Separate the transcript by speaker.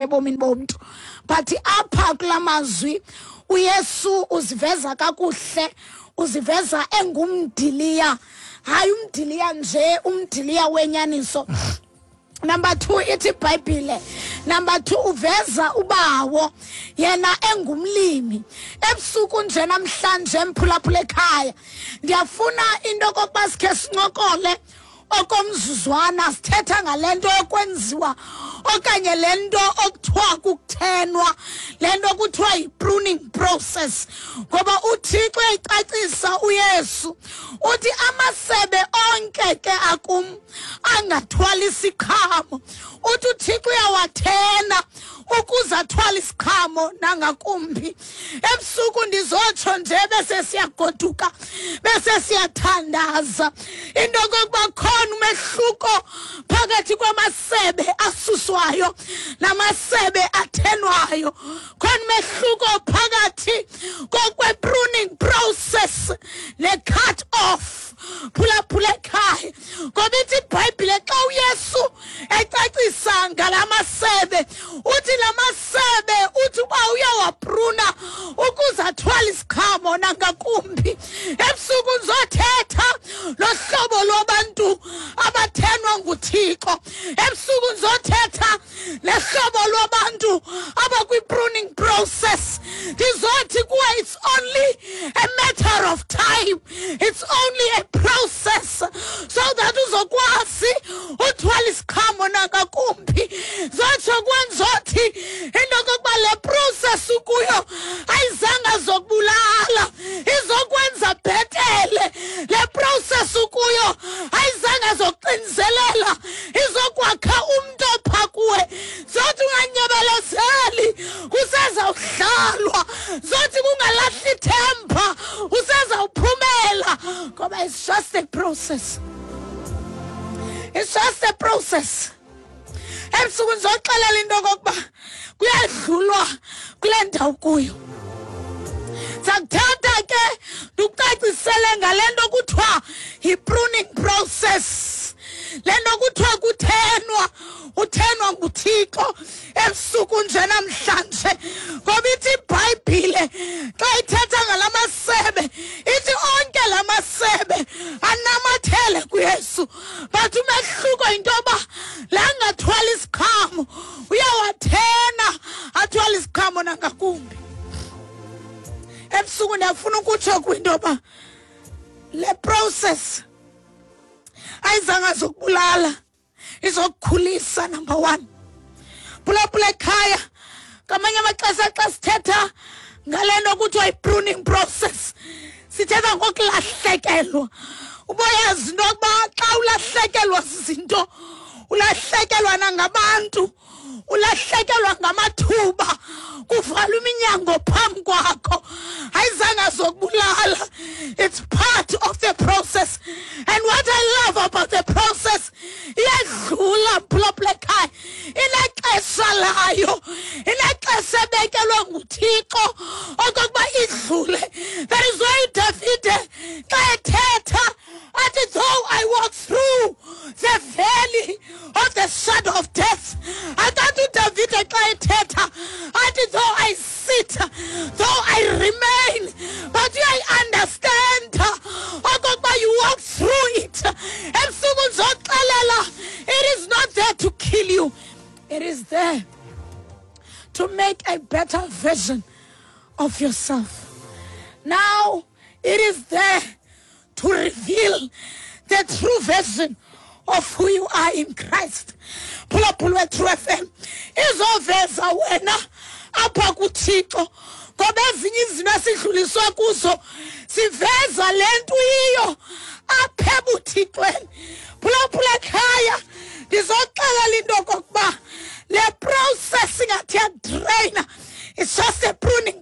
Speaker 1: Ebomini bomntu, but apha kula mazwi uYesu uziveza kakuhle, uziveza engumdiliya, hayi umdiliya nje, umdiliya wenyaniso. Number 2, ithi iBhayibhile, number 2, uveza ubawo yena engumlimi. Ebusuku nje namhlanje, mphulaphula ekhaya, ndiyafuna into okokuba sikhe sincokole okomzuzwana, sithetha ngale nto yokwenziwa okanye le nto okuthiwa kukuthenwa, le nto kuthiwa yi-pruning process, ngoba uThixo uyayicacisa. UYesu uthi amasebe onke ke akum angathwali isiqhamo, uthi uThixo uyawathena ukuze athwale isiqhamo nangakumbi. Ebusuku ndizotsho nje bese siyagoduka, bese siyathandaza into kokuba khona umehluko phakathi kwamasebe asuswayo namasebe athenwayo, khona umehluko phakathi kokwe-pruning process ne-cut off. Phulaphula ekhaya, ngoba ithi iBhayibhile xa uYesu ecacisa ngala masebe, uthi la masebe, uthi uba uyawapruna ukuze athwale isiqhamo nangakumbi. Ebusuku ndizothetha lohlobo lwabantu abathenwa nguThixo. Ebusuku ndizothetha lehlobo lwabantu abakwi-pruning process. Ndizothi kuwe it's only a matter of time, it's only a process so that uzokwazi uthwala isiqhamo nangakumbi. Zotsho kuwe, ndizothi into yokokuba le process ukuyo ayizanga zokubulala, izokwenza bhetele. Le process ukuyo ayizanga zokuxinizelela, izokwakha umntu opha kuwe. Zothi unganyebelezeli, kusezawuhlalwa. Zothi kungalahli ithemba, usezawuphumela, ngoba it's just a process, it's just a process. Ebusuku ndizoxelela into okokuba kuyadlulwa kule ndawo kuyo. Ndizakuthatha ke ndikucacisele ngale nto kuthiwa yi-pruning process, le nto kuthiwa kuthenwa, uthenwa nguThixo ebusuku nje namhlanje, ngoba ithi iBhayibhile xa ithetha ngala masebe, ithi onke la masebe anamathele kuYesu, but umehluko yinto yoba la angathwala isiqhamo uyawathena athwale isiqhamo nangakumbi. Ebusuku ndiyafuna ukutsho kwinto yoba le process ayizanga zokubulala, izokukhulisa. Number 1, phulaphula ekhaya, ngamanye amaxesha xa sithetha ngale nto kuthiwa yi-pruning process, sithetha ngokulahlekelwa. Uboyazi into yokuba xa ulahlekelwa zizinto, ulahlekelwa nangabantu, ulahlekelwa ngamathuba, kuvalwa iminyango phambi kwakho, ayizange zokubulala, it's part of the process. And what I love about the process, iyadlula, mphulaphula ekhaya, inexesha layo, inexesha ebekelwe nguThixo okokuba idlule. That is why uDavide xa ethetha athi, "Though I walk through the valley of the shadow of death," akathi uDavide xa ethetha athi, "Though I sit, though I remain," but uyayi-understand okokuba you walk through it. Ebusuku ndizoxelela, it is not there to kill you, it is there to make a better version of yourself. Now it is there to reveal the true version of who you are in Christ. Phulaphula True FM, izoveza wena apha kuThixo, ngoba ezinye izinto esidluliswa kuzo siveza le nto iyiyo apha ebuthixweni. Phulaphula ekhaya, ndizoxelela into okokuba le process ingathi yadraina, it's just a pruning.